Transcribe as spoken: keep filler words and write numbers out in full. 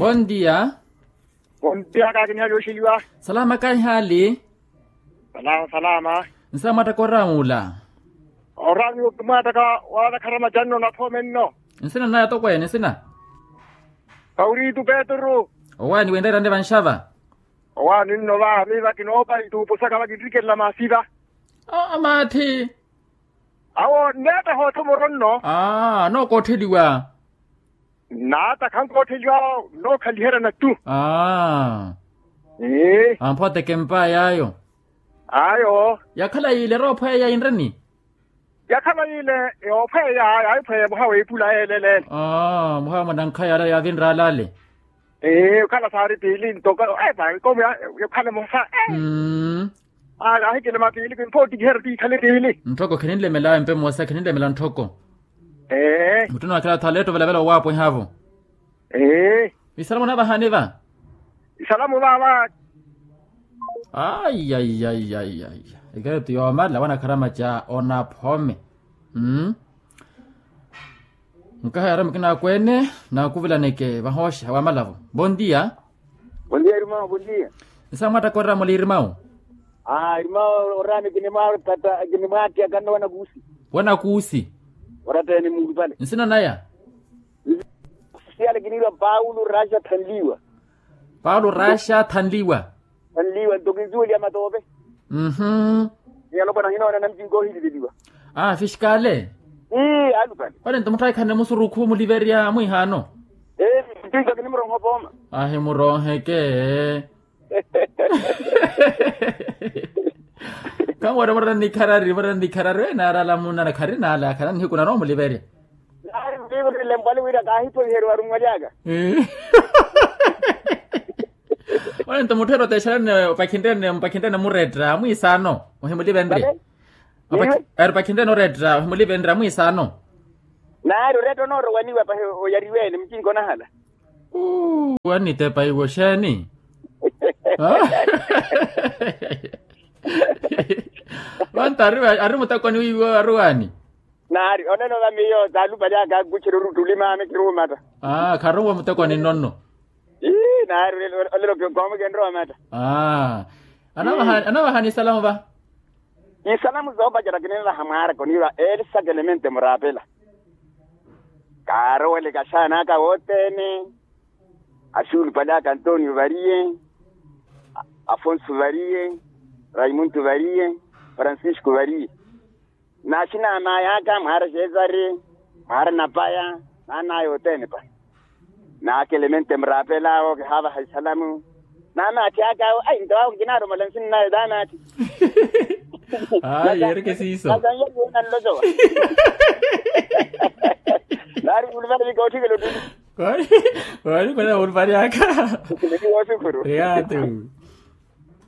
Bondia. Bondia kaakiniha lyoxeliwa. Salama kaihaali. Salama salama. Nsa mwaattaka oraamula. Oraamula ottaka wala kharama janno na phome nno. Nsina naya tokweene nsina. Kauritu petru. Owaani wenreerane vanxava. Owaani nno va miva kinoopa ituupu saka vakinrikerela maasi va. Amaatthi. Awo nneetta hoothomoro nno. Aa nookootheliwa. Nnaata khankoottheliwa nookhaliherya nattu. Aa. Amphooteke mpaya ayo. Ayo. Yakhala yiile eroophweya inreni. Yakhala yiile yoophweya yaayiphweya muha weepula yeeleleele. Muha mwanankhaya ala yaavinra alale. Okhala saari piili ntoko epa nkomi yokhala muha. Aahikele mapiili kimphoottikiherya tiikhale piili. Nthoko kheninlemela empe moosa kheninlemela nthoko. Mutthuna wakhala athu aleetta ovelavela owaapweha-vo. Isalamu onavahani va? Isalamu vava. Aiyaiyaiyaiya. Ekeretu yoomala wanakharamaca onaphome. Nkahayara mukina akweene naakuvilaneke vahooxa wamalavo. Bondia. Bondia irmao bondia. Nsa mwaattaka oraamula irmao. Irmao oraani kinimwaattaka nno wanakuusi. Wanakuusi. Orattene muulupale nsina naya. Siyale kiniirwa paulo raxa thanliwa. Paulo raxa thanliwa. Thanliwa nto kinsuweliya matoope. Mmm. Ni alopwana hinoona namcinko ohiliveliwa. Aa fiskale. Ii alupale. Pale nto mutthaikhanne musurukhu muliverya mwiihaano. Ee nto kinimurooha opooma. Ahimuroheke. Khamuwara murana nikharari murana nikharari enaarala munana kharinala khana nihiku nanomuliverya. Naari muliverya lempwali wira kaahiphoiheriwa arumwalyaka. Ole nto mutthu eri otexerene opakhinrene mupakhinrene muretta mwiisaano ohimulivenrye. Eri opakhinrene oretta ohimulivenrye mwiisaano. Naari oretta onoorowaniwa pahi oyariwene mucinko onahala. Wanitepa iwo xeeni? Vantu ari mutekoni wiiwo aruwaani. Naari oneno va miyo taalupalyaka akuxerya oruttuli maame kiruumatta. Kharuuwa mutekoni nno nno. Naari olelo koomukenrya omatta. Anavahani isalamu va? Isalamu zoopacerya kinimvaha mwaaraka oniirwa elsa kelemente muraapela. Kaaroweleke axaana aka wothene. Axuulupale aka antonio variye, afonso variye, raimundo variye, francisco variye. N'axinaamaya aka mwaara xesari, mwaara napaya, n'anaya othene pale. N'aka elemente muraapel'awo kihaavaha isalamu. N'amaathi ak'awo ai nto awo nkinaarumala nsin'naya t'amaathi. Ayi ereke siiso. Nlolowa. Naari khulupale ni kootthikela ottuli. Khwali khwali khwali khwali aka. Khulupale ni woosukhuru. Eyaato.